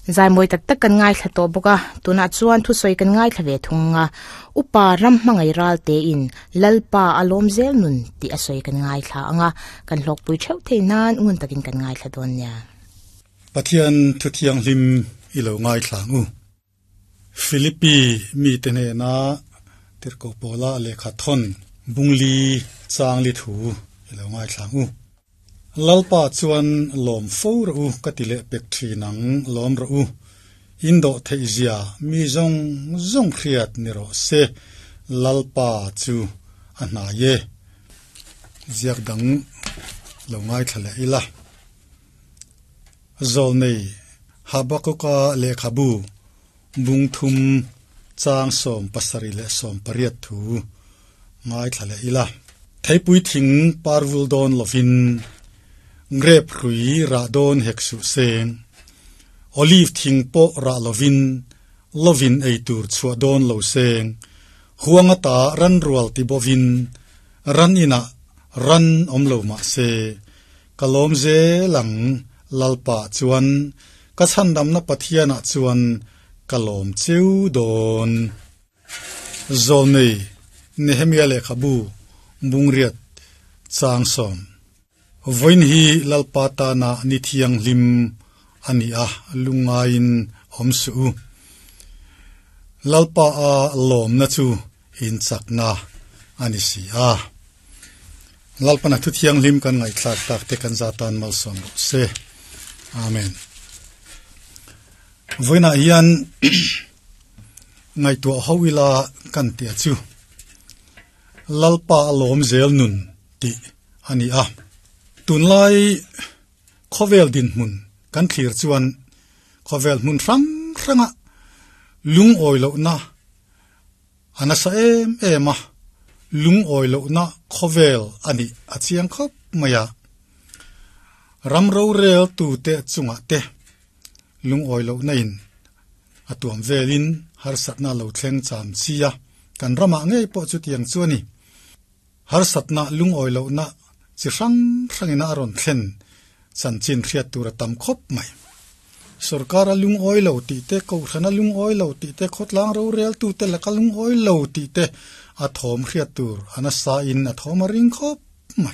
Zai mawi tak tak kan ngaithla tawh bawk a, tunah chuan thusawi kan ngaithla ve thung a, Upa ram hmangaih ral tein Lalpa a lawm zel nun tih a sawi kan ngaithla ang a, kan hlawkpui theuh thei nan ngun takin kan ngaithla dawn nia. Pathian thuthianghlim i lo ngaithla ang u. Philippi mite hnena Tirhkoh Paula lehkha thawn bungli changli thu i lo ngaithla ang u. Lalpa chuan lawm fo rawh u ka ti leh pek thin ang, lawm rawh u. In dawh theih zia mi zawng zawng hriat ni rawh se, Lalpa chu a hnai e. Ziak dang lo ngaithla leh ila. Zawlnei Habakuka lehkhabu bung thum chang 70 leh 80 thu ngaithla leh ila. Theipui thing parvul dawn lovin grep hrui rah dawn hek suh seng. Olive thing pawh rah lovin lovin ei tur chhuah dawn lo seng. Huang ata ran rual ti bovin ran inah ran awm lo mah se. Ka lawm zel ang, Lalpa chuan, ka chhandamna Pathianah chuan ka lawm cheu dawn. Zawlnei Nehemia lehkhabu Bungriat chang sawm. Vawiin hi Lalpa tana ni thianghlim a ni a, lungngaiin awm suh u. Lalpa a lawmna chu inchakna a ni si a. Lalpana thu thianghlim kan ngaihthlak tak te kan zatan malsawm rawh se. Amen. Vawiinah hian ngaihtuah ho ila kan tia chu Lalpa a lawm zel nun tih a ni a. Tunlai khawvel dinhmun kan thlir chuan khawvel hmun hrang hranga lungawi lohna a nasa em em a, lungawi lohna khawvel a nih a chiang khawp mai a. Ram rorel tute chungah te lungawi lohna in a tuam velin harsatna lo thleng cham chi a, kan ramah ngei pawh chutiang chu a ni. Harsatna lungawi lohna chi hrang hrangin a rawn thlen chanchin hriat tur a tam khawp mai. Sorkara lungawi lo tih te, kohhrana lungawi lo tih te, khawtlang roreltute laka lungawi lo tih te a thawm hriat tur a nasa in a thawm a ring khawp